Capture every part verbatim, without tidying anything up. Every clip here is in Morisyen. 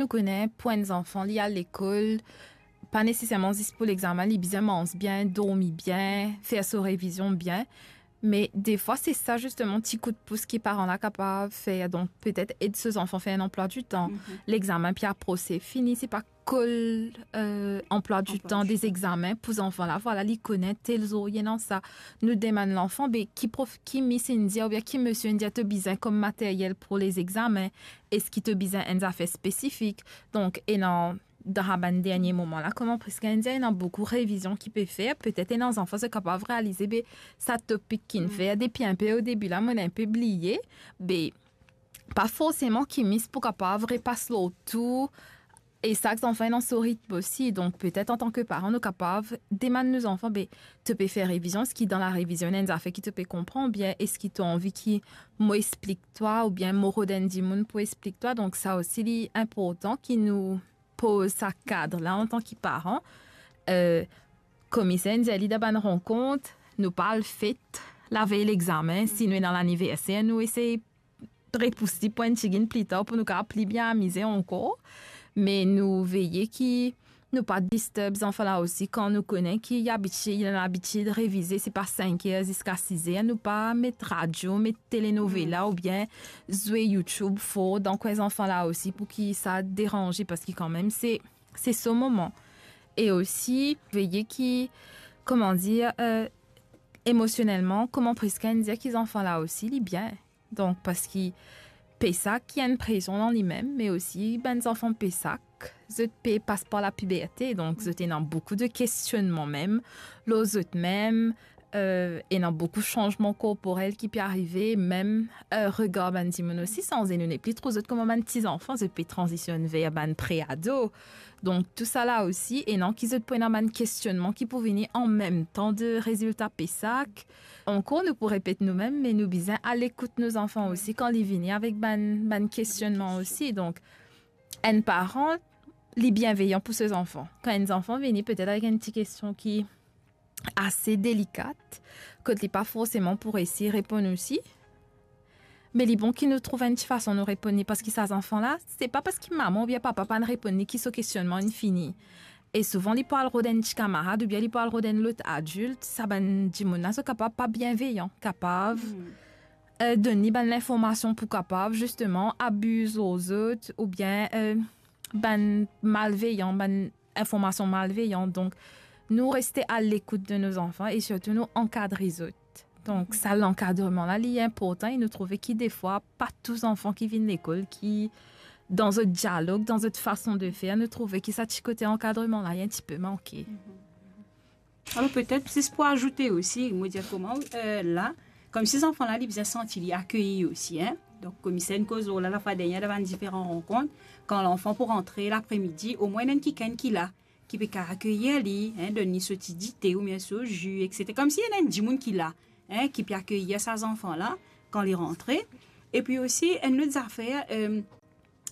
Nou kone pou enn zanfan, li al lekol, pa neseserman zis pou lexame, li bizin manz bien, dormi bien, fer so revizion bien. Me defwa, se sa zisteman ti koudpous ki paran la kapav fer. Donk, petet ed so zanfan fer enn anplwa ditan. Mhm. Lexame pe aprose, fini, se pa kol, eh, anplwa ditan de lexame pou zanfan la. Vwala, li kone tel zour ena sa. Nou demann lanfan, be, ki prof, ki mis inn dir, oubien ki misie inn dir to bizin kom materyel pou lexame? Eski to bizin enn zafer spesifik? Donk, ena dan sa bann dernie moman la, kouma preske inn dir, ena boukou revizion ki pe fer. Petet ena zanfan, zot kapav realize, be, sa topik ki'nn fer depi inpe o debi la, mo'nn inpe bliye. Be, pa forseman ki mis pou kapav repas lor tou. E sak zanfan ena so ritm osi. Donk, petet antan ki paran, nou kapav demann nou zanfan, be, to pe fer revizion, eski dan larevizion, ena enn zafer ki to pe konpran, oubien eski to anvi ki mo explik twa, oubien mo rod enn dimoun pou explik twa? Donk, sa osi, li inportan ki nou poz sa kad la antan ki paran. Eh, kouma inn dir li dan bann rankont, nou pa al fet lavey lexame, si nou ena laniverser, nou esey repous li pou enn tigit pli tar pou nou kapav pli bien amize ankor. Me nou veye ki nou pa disturb zanfan la osi kan nou kone ki li abitie, li ena labitid revize, se pa sink er ziska siz er. Nou pa met radio, met telenovela oubien zwe YouTube for dan kwin zanfan la osi pou ki sa deranze, parski kanmem se, se so moman. E osi, veye ki, kouma dir, eh, emosionelman, kouma preske inn dir, ki zanfan la osi, li bien. Donk, parski PESAC, li ena enn presion dan limem, me osi bann zanfan PESAC, zot pe pas par lapiberte, donk zot ena boukou de kestionnman mem lor zotmem, eh, ena boukou sanzman korporel ki pe arive, mem, eh, regar bann dimoun osi sanze, nou nepli trouv zot kouma bann ti zanfan, zot pe tranzisionn ver bann pre-ado. Donk, tousala osi, ena ki zot pou ena bann kestionnman ki pou vini anmemtan de rezilta PESAC. Ankor, nou pou repet noumem, me nou bizin alekout nou zanfan osi kan li vini avek bann, bann kestionnman osi. Donk, enn paran, li bienveyan pou so zanfan. Kan enn zanfan vini petet avek enn ti kestion ki ase delikat, kot li pa forseman pou resi reponn osi, me li bon ki nou trouv enn ti fason nou reponn li, parski sa zanfan la, se pa parski mama oubien papa pa'nn reponn li ki so kestionnman inn fini. E souvan, li pou al rod enn ti kamarad oubien li pou al rod enn lot adilt, sa bann dimoun la, zot kapav pa bienveyan, kapav, eh, donn li bann linformasion pou kapav, zisteman, abiz lor zot, oubien, eh, bann malveyan, bann informasion malveyan. Donk, nou reste alekout de nou zanfan e sirtou nou ankadre zot. Donk, sa lankadreman la, li inportan e nou trouve ki defwa, pa tou zanfan ki vinn lekol, ki dan zot dialog, dan zot fason de fer, nou trouve ki sa ti kote ankadreman la, li enn tipe manke. Alor, petet, zis pou azoute osi, mo dir kouma, eh, la, koumsi zanfan la, li bizin santi li akeyi osi, en. Donk, kouma inn koz lor la, lafwa dernie, dan bann diferan rankont, kan lanfan pou rantre lapremidi, omwin ena enn kikenn ki la, ki pe kapav akeyi li, en, donn li so ti dite oubien so zi, etsetera. Koumsi ena enn dimoun ki la, en, ki pe akeyi sa zanfan la, kan li rantre. Epi osi, enn lot zafer, eh,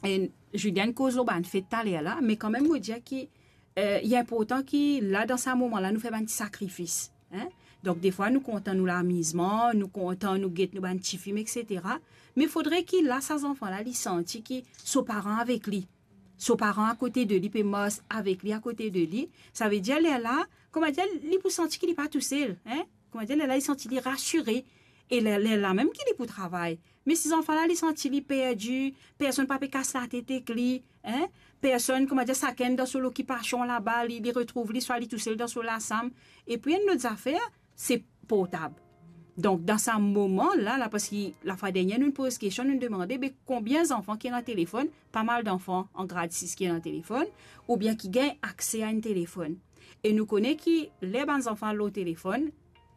eh, Julienne koz lor bann fet taler la, me kanmem, mo dir ki, eh, li inportan ki la, dan sa moman la, nou fer bann ti sakrifis, en. Donk, defwa, nou kontan nou lamizman, nou kontan nou get nou bann ti fim, etsetera. Me fodre ki la, sa zanfan la, li santi ki so paran avek li. So paran akote de li, pe mars avek li, akote de li. Savedir, lerla, kouma dir, li pou santi ki li pa tousel, en. Kouma dir, lerla, li santi li rasire. E ler, lerla mem ki li pou travay. Me si zanfan la, li santi li perdi, personn pa pe kas latet ek li, en, personn, kouma dir, sakenn dan so lokipasion laba, li, li retrouv li, swa li tousel dan so lasam. Epi enn lot zafer, se portab. Donk, dan sa moman la, la, parski lafwa dernie, nou poz kestion, nou demande, be, konbien zanfan ki ena telefonn? Pa mal zanfan an grad sis ki ena telefonn, oubien ki gagn akse a enn telefonn. E nou kone ki ler bann zanfan al lor telefonn,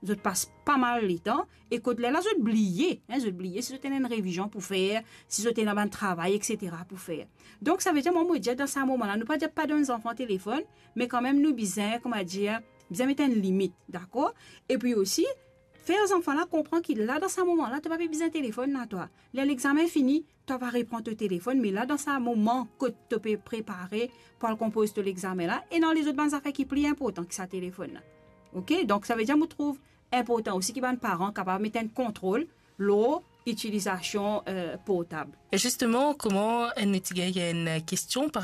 zot pas pa mal letan, e kot lerla zot bliye, en, zot bliye si zot ena enn revizion pou fer, si zot ena bann travay, etsetera, pou fer. Donk, savedir, mwa, mo dir, dan sa moman la, nou pa dir pa donn zanfan telefonn, me kanmem, nou bizin, kouma dir, bizin met enn limit, dakor? Epi osi, fer zanfan la konpran ki la, dan sa moman la, to pa pe bizin telefonn la, twa. Ler lexame fini, to va repran to telefonn, me la, dan sa moman kot to pe prepare pou al konpoz to lexame la, ena lezot bann zafer ki pli inportan ki sa telefonn la. Oke? Donk, savedir, mo trouv inportan osi ki bann paran kapav met enn kontrol lor itilizasion, eh, portab. E zisteman, kouma nou ti gagn enn kestion par